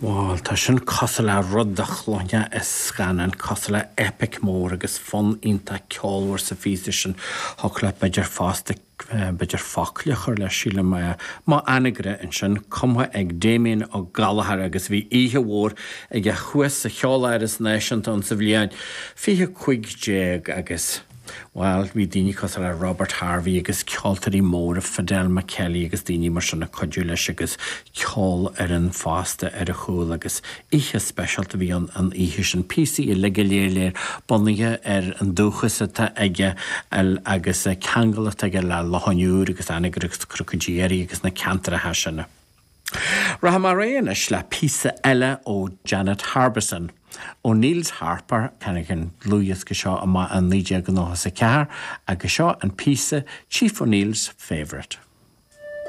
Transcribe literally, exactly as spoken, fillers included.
Bhuel, tá sin cosúil le rud a chluinfeá i scannán, cosúil le epic mór agus fonn iontach ceolmhar sa phíosa sin. Thiocfadh leat b'fhéidir fosta b'fhéidir focla a chur leis, sílim. Mo Anagaire ansin, cumtha ag Damien Ó Gallchóir agus bhí oíche mhór aige thuas sa Cheoláras Náisiúnta ann sa bhliain fiche cúig déag agus. Bhuel, bhí daoine cosúil le Robert Harvey agus ceoltóirí móra, Fidel McKelly agus daoine mar sin ag cuidiú leis agus ceolfhoireann fosta ar a chúl agus oíche speisialta a bhí ann an oíche sin. Píosaí uilig go léir léir bunaithe ar an dúchas atá aige agus ceangal atá aige le Loch an Iúir agus Anagaire agus Cnoc an Dé agus na ceantracha sin. Rachaidh mé ar aghaidh anois le píosa eile ó Janet Harbison. O'Neill's Harper, tháinig an dlúthdhiosca seo amach i naoi déag nócha a ceathair agus seo an píosa Chief O'Neill's Favourite.